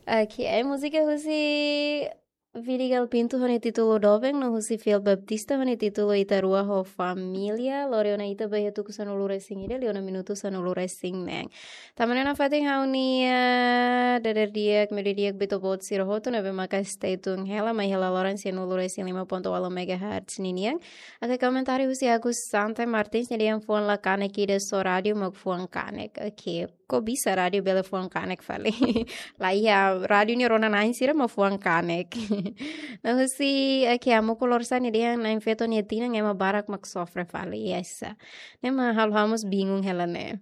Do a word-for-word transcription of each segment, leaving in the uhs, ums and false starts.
Oke, ai múzika husi Vidigal Pinto ho nia títulu Doben, no husi Fiel Baptista ho nia títulu Ita Rua ho Família. Lori ona ita ba iha tuku sanulu-resin-ida, liu ona minutu sanulu-resin-neen. Tanba ne'e nafatin ha'u-nia dadeer-di'ak, meiudia-di'ak ba ita-boot sira hotu ne'ebé maka stay tune hela mai hela loran sianulu-resin-lima pontu ualu megahertz ninian. Oke, komentáriu husi Agus Santa Martins, nia dehan fuan la kanek ida, só rádiu mak fuan kanek. Oke, kok bisa rádiu bele fuan kanek fali? La iha, rádiu nia rona-na'in sira mak fuan kanek. No husi, oke, Amuku Lorsa nia dehan na'in-feto nia tinan ema barak mak sofre fali, yes. Ne'e mak halo ha'u mós bingung hela ne'e.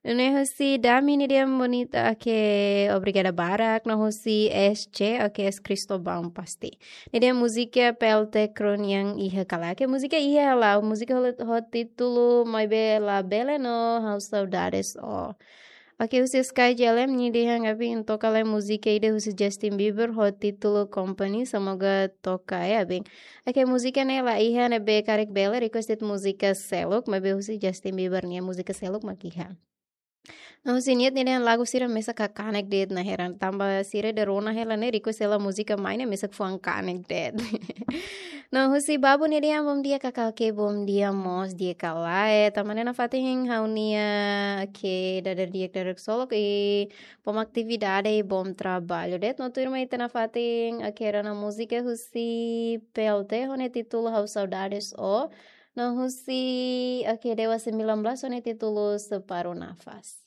No husi Dami nia dehan bonita, oke, obrigada barak. No husi S C, oke, S Cristóbal pasti. Nia dehan múzika P L T Kronian iha ka lae. Oke, múzika iha hela, múzika ho, ho títulu Maibé La Bele no Ha'u Saudades Ó. Oke, husi Sky J L M nia dehan, ami toka lai múzika ida husi Justin Bieber ho títulu Company, semoga toka ya, abin. Oke, múzika ne'e la iha, ne'ebé karik bele request de'it múzika seluk, maibé husi Justin Bieber nia múzika seluk mak iha. No husi Niat nia dehan lagu sira mesak ka kanek de'it, na heran tanba sira ida rona hela ne'e request hela múzika mai ne'e mesak fuan kanek de'it. No husi Babu nia dehan bom dia kakak, oke, bom dia mós di'ak ka lae. Tanba ne'e nafatin ha'u-nia, oke, dadeer-di'ak dadeer-ksolok i bom atividade i bom trabalho de'it. No tuirmai ita nafatin, oke, rona múzika husi P L T ho nia títulu Ha'u Saudades Ó. No husi, oke, Dewa sembilan belas ho nia títulu Separuh Nafas.